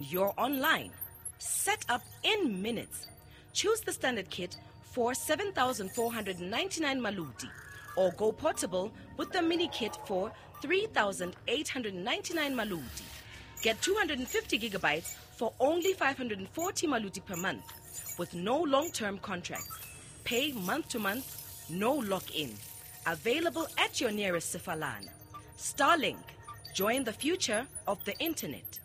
You're online. Set up in minutes. Choose the standard kit for 7,499 Maluti or go portable with the mini kit for 3,899 Maluti. Get 250 gigabytes for only 540 Maluti per month with no long-term contracts. Pay month to month, no lock-in. Available at your nearest Sefalana. Starlink. Join the future of the internet.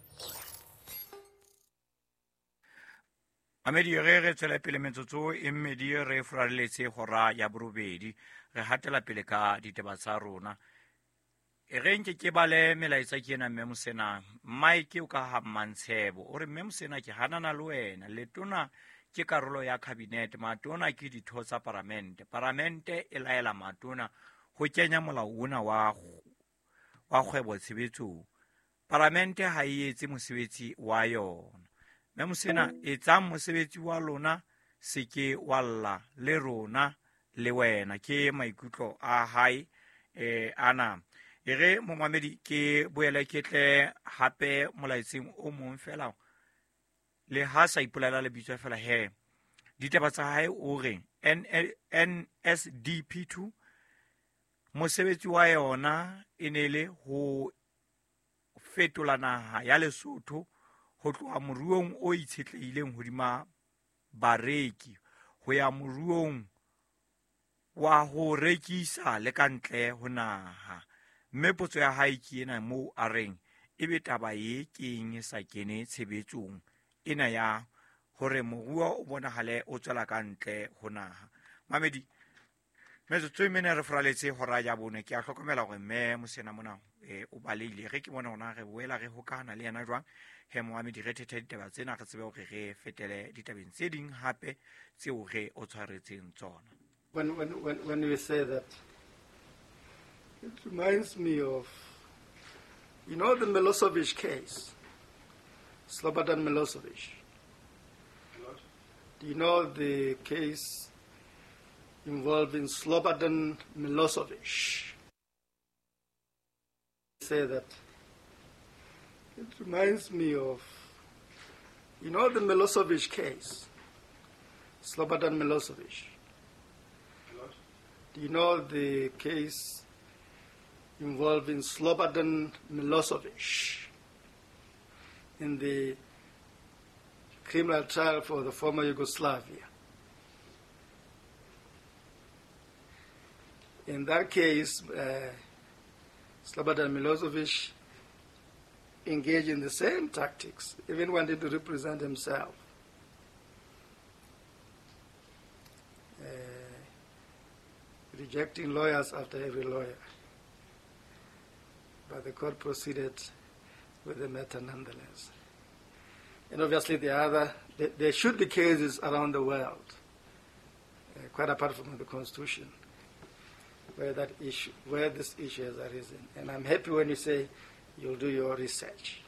Mamedi ge re tswela pele metsotso e mmedi re furaletse hora ya borobedi re hatela pele ka ditaba tsa rona. E re nke ke bale melaetsa ke ena mme Mosena. Mike o ka ha Mmantshebo o re mme Mosena ke hanana le wena letona ke karolo ya cabinet matona ke ditho tsa paramente. Paramente e laela matona ho kenya molao ona wa kgwebo tshebetsong. Paramente ha e etse mosebetsi wa yona. Mme Mosena etsang mosebetsi wa lona se ke wa lla le rona le wena. Ke maikutlo a hae ana. E re momamedi ke boele ke tle hape molaetseng o mong fela le ha sa ipolela lebitso fela he. Ditaba tsa hae o re NSDP2 mosebetsi wa yona e ne le ho fetola naha ya Lesotho ho tloha moruong o itshetlehileng hodima bareki ho ya moruong wa ho rekisa le ka ntle ho naha. Mme potso ya hae ke ena moo a reng ebe taba e keng e sa kene tshebetsong ena ya hore moruo o bonahale o tswela ka ntle ho naha. Mamedi metsotso e mene re furaletse hora ya bone. Ke a hlokomela hore mme Mosena mona o baleile. Re ke bona hona re boela re hokahana le yena jwang. He momamedi re thethe ditaba tsena re tsebe hore re fetele ditabeng tse ding hape tseo re o tshwaretseng tsona. When we say that, it reminds me of, you know, the Milosevic case, Slobodan Milosevic. Do you know the case involving Slobodan Milosevic? Say that it reminds me of, you know, the Milosevic case, Slobodan Milosevic. Do you know the case involving Slobodan Milosevic in the criminal trial for the former Yugoslavia? In that case, Slobodan Milosevic engaged in the same tactics, even wanted to represent himself. Rejecting lawyers after every lawyer. But the court proceeded with the matter nonetheless. And obviously there should be cases around the world, quite apart from the Constitution, where this issue has arisen. And I'm happy when you say you'll do your research.